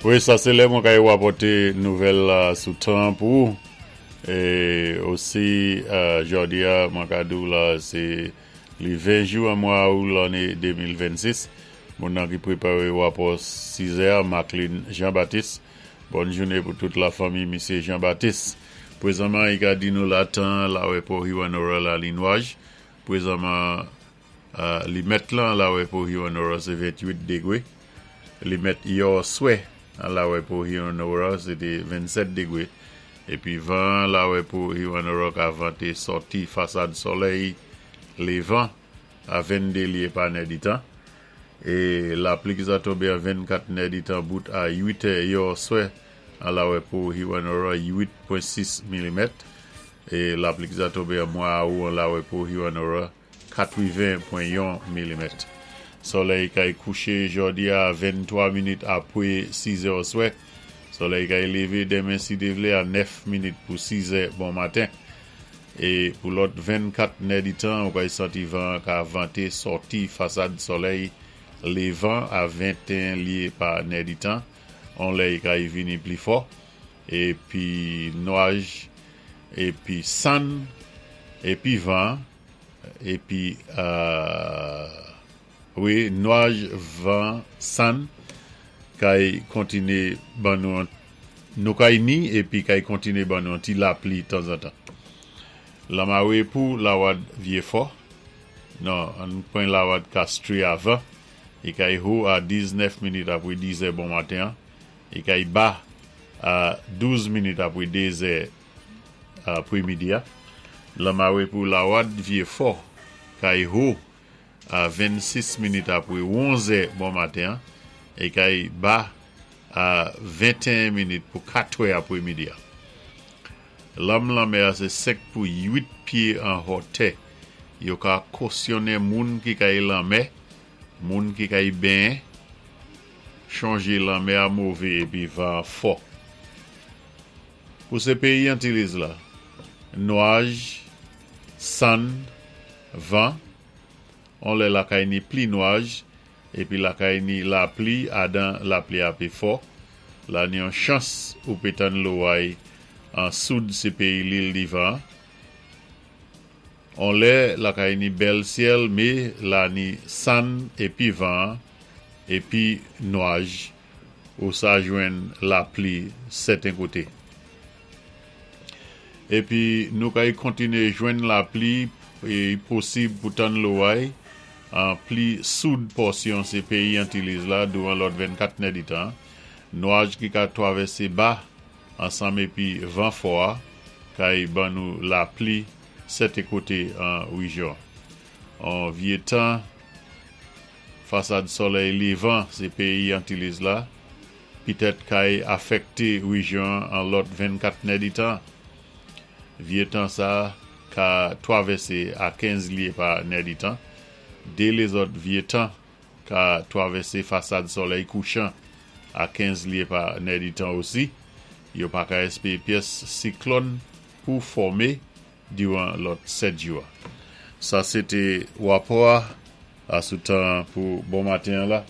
Wi, sa sé lè mwen kay wapòté nouvèl la sou tan pou ou. É osi jòdi-a mwen ka di-w la sé li 20 jou an mwa Out lanné 2026. Moun nan ki préparé wapò 6 è a, Marcline Jean Baptiste. Bòn jouné pou tout la fanmi misyé Jean Baptiste. Pwézanman i ka di nou la tan lawè Pò Hewanorra la li nwaj. Pwézanman Limèt lan lawè pou Hewanorra sé 28 degwé. Limèt yòswè an lawè pou Hewanorra sé té 27 degwé. Épi van an lawè pou Hewanorra ka vanté sòti fasad sòlèy lévan a 22 lyé pa nèditan. É lapli ki sa tonbé an 24 nèditan bout a 8 è yòswè an lawè pou Hewanorra 8.6 milimèt. É lapli ki sa tonbé an mwa Awou an lawè pou Hewanorra 80.1 milimèt. Sòlèy kay kouché jòdi a 23 minit apwé 6 zè oswè. Sòlèy kay lévé denmen si Dé vlé a 9 minit pou 6 zè bon maten. É pou lòt 24 nèditan ou kay santi van an ka vanté sòti fasad sòlèy lévan a 21 lyé pa nèditan. On lè i kay vini pli fò. Épi nwaj, épi sann, épi van. Epi wi nwaj van sann kay kontine ban nou nou kay ni epi kay kontine ban nou yon ti lapli tanzantan. Lanmare pou lawad Vyefò non ann pran lawad Kastri avan i kay ho a 19 minit apre dizè bon maten an i kay ba a 12 minit apre dezè Apremidi a, Lanmare pou Lawad Vyefò, kay Ho, a 26 minit apre onzè bon maten an, e kay Ba a 21 minit pou katrè apremidi a. Lanm lanmè a se 5 pou 8 pye an hòtè. Yo ka kosyonnen moun ki kay lanmè, moun ki kay benyen, chonje lanmè a move epi van an fò. Pou se peyi Antilles la, nwaj, sann, van, on lè lakay ni pli nwaj, épi lakay ni lapli adan lapli a pé fò, la ni on chans ou pé tann loway an soud se peyi Lil Divan an. On lè lakay ni bèl syèl mé la ni sann épi van épi nwaj. Ou sa jwenn lapli sèten koté. Épi nou kay kontiné jwenn lapli é i posib pou tann loway an pli soud pòsyon sé péyi Antilles la douvan lòt 24 nèditan. Nwaj ki ka twavèsé ba ansanm épi van fò a kay ban nou lapli sèten koté an rejyon an. Vyé tan. Fasad sòlèy levan se peyi Antilles la, pitèt kay afèkte rejyon an lòt 24 nèditan. Vye tan sa ka twavèse a 15 lye pa nèditan. De lezòt vye tan ka twavèse fasad sòlèy kouchan a 15 lye pa nèditan osi. Yo pa ka espere pyès siklòn pou fòme diran lòt 7 jou a. Sa se te wapò a sou tan an pou bon maten an la.